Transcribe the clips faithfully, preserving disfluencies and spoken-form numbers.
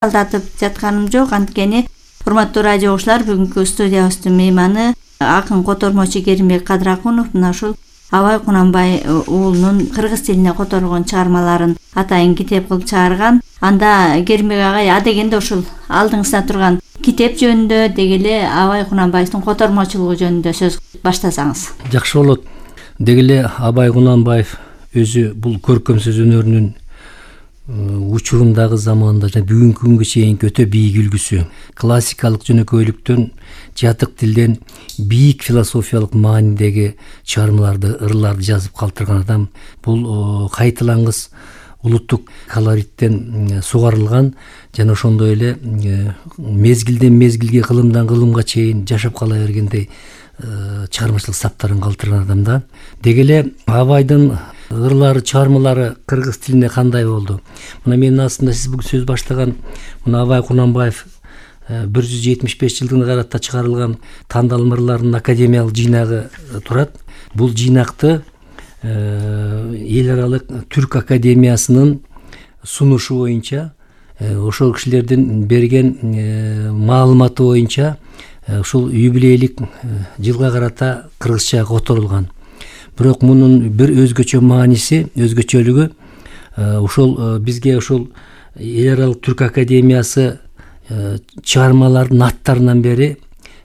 алдатып жатканым жок. Анткени урматтуу радио угуучулар, бүгүнкү студиябыздын мейманы акын котормочу Керимбек Кадракунов мына ушул Абай Кунанбай уулунун кыргыз тилине которгон чыгармаларын атайын китеп кылып чыгарган. Анда Керимбек агай, а дегенде ушул алдыңызда турган китеп жөнүндө, деги эле Абай Кунанбаевдин котормочулугу жөнүндө сөз баштасаңыз. Жакшы болот. Деги эле Абай Кунанбаев өзү бул көркөм сөз өнөрүнүн учурундагы заманда жана бүгүнкү күнгө чейинки өтө бийик үлгүсү. Классикалык жөнөкөйлүктөн, жатык тилден бийик философиялык маанидеги чыгармаларды, ырларды жазып калтырган адам. Бул кайталангыс улуттук колориттен сугарылган жана ошондой эле мезгилден мезгилге, кылымдан кылымга чейин жашап кала бергендей чыгармачылык саптарын калтырган адам да. Деги эле Абайдын ырлары, чыгармалары кыргыз тилине кандай болду? Мына менин астымда сиз бүгүн сөз баштаган мына Абай Кунанбаев бир жүз жетимиш беш жылдыгына карата чыгарылган тандалма ырларынын академиялык жыйнагы турат. Бул жыйнакты эл аралык түрк академиясынын сунушу боюнча, ошол кишилердин берген маалыматы боюнча ушул юбилейлик жылга карата кыргызча которулган. Бирок мунун бир өзгөчө мааниси, өзгөчөлүгү ушул бизге ушул эл аралык түрк академиясы чыгармалардын аттарынан бери,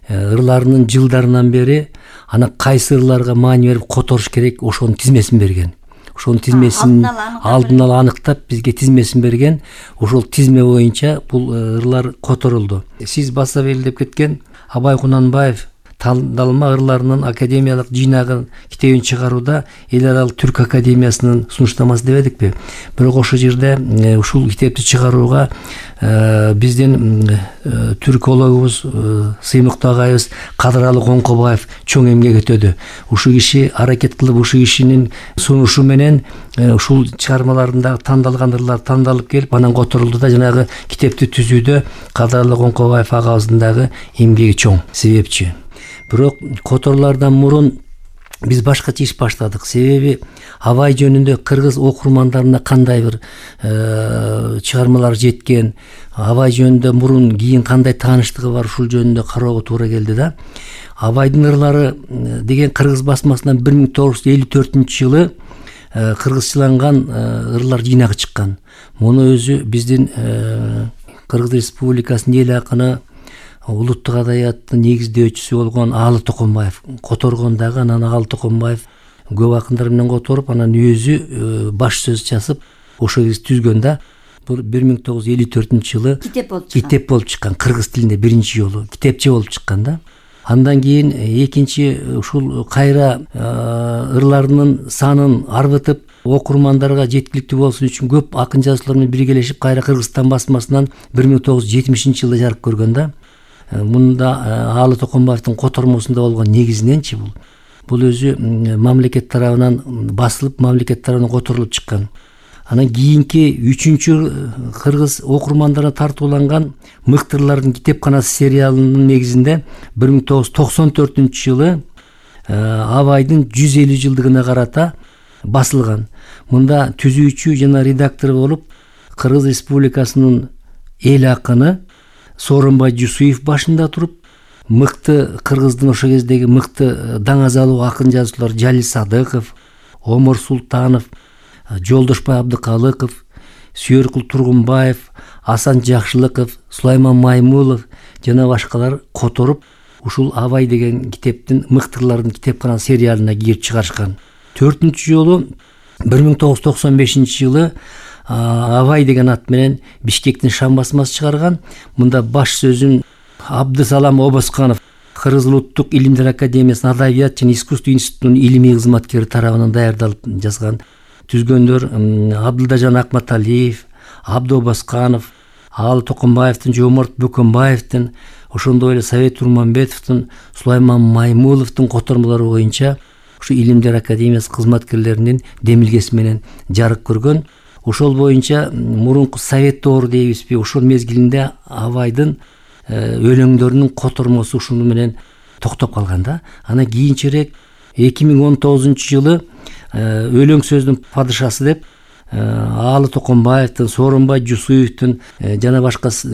ырларынын жылдарынан бери ана кайсы ырларга маани берип которуш керек, ошонун тизмесин берген. Ошонун тизмесин алдын ала аныктап бизге тизмесин берген. Ошол тизме боюнча бул ырлар которулду. Сиз баса белгилеп кеткен Абай Кунанбаев тандалма ырларынын академиялык жыйнагын китебин чыгарууда эл аралык түрк академиясынын сунуштамасы дебедикпи? Бирок ошол жерде ушул китепти чыгарууга биздин түркологубуз, сыймыктуу агайыбыз Кадыралы Коңкобаев чоң эмгек өтөдү. Ушул киши аракет кылып, ушул кишинин сунушу менен ушул чыгармаларында тандалган ырлар тандалып келип, анан которулду да жанагы китепти түзүүдө Кадыралы Коңкобаев агабыздын дагы эмгеги чоң, себепчи. Бирок которуулардан мурун биз башкача иш баштадык. Себеби Абай жөнүндө кыргыз окурмандарына кандай бир чыгармалар жеткен, Абай жөнүндө мурун кийин кандай тааныштыгы бар, ушул жөнүндө кароого туура келди да. Абайдын ырлары деген кыргыз басмасынан бир миң тогуз жүз элүү төртүнчү жылы кыргызчаланган ырлар жыйнагы чыккан. Муну өзү биздин Кыргыз Республикасынын эл акыны, улуттук адабияттын негиздөөчүсү болгон Аалы Токонбаев которгон дагы. Анан Аалы Токонбаев көп акындар менен которуп, анан өзү баш сөз жазып, ошол кезде түзгөн да. Бул бир миң тогуз жүз элүү төртүнчү жылы китеп болуп чыккан. Китеп болуп чыккан. Кыргыз тилинде биринчи жолу китепче болуп чыккан да. Андан кийин экинчи ушул кайра ырларынын санын арбытып, окурмандарга жеткиликтүү болсун үчүн көп акын жазуучулар менен биргелешип кайра Кыргызстан басмасынан бир миң тогуз жүз жетимишинчи жылда жарык көргөн да. Мында Аалы Токонбаевдин котормосунда болгон негизиненчи бул. Бул өзү мамлекет тарабынан басылып, мамлекет тарабынан которулуп чыккан. Анан кийинки үчүнчү кыргыз окурмандарына тартууланган Мыктырлардын китепканасы сериалынын негизинде бир миң тогуз жүз токсон төртүнчү жылы Абайдын жүз элүү жылдыгына карата басылган. Мында түзүүчү жана редактор болуп Кыргыз Республикасынын эл акыны Сооронбай Жусуев башында туруп, мыкты кыргыздын ошол кездеги мыкты даңазалуу акын жазуучулар Жалил Садыков, Омар Султанов, Жолдошбай Абдыкалыков, Сүйөркул Тургунбаев, Асан Жакшылыков, Сулайман Маймулов жана башкалар которуп, ушул Абай деген китептин Мыктырлардын китепканасы сериалына кирип чыгарышкан. Төртүнчү жолу бир миң тогуз жүз токсон бешинчи жылы Абай деген ат менен Бишкектин Шам басмасы чыгарган. Мында баш сөзүн Абдысалам Обосканов, Кыргыз улуттук илимдер академиясынын адабият жана искусство институтунун илимий кызматкери тарабынан даярдалып жазган. Түзгөндөр Абдылдажан Акматалиев, Абды Обосканов, Аалы Токонбаевдин, Жомарт Бөкөнбаевдин, ошондой эле Совет Турманбетовдун, Сулайман Маймуловдун котормолору боюнча ушу илимдер академиясы кызматкерлеринин демилгеси менен жарык көргөн. Ошол боюнча мурунку Совет доору дейбизби, ошол мезгилинде Абайдын өлөңдөрүнүн котормосу ушуну менен токтоп калган да. Анан кийинчерээк эки миң он тогузунчу жылы өлөң сөздүн падышасы деп Аалы Токонбаевдин, Сооронбай Жусуевдин жана башка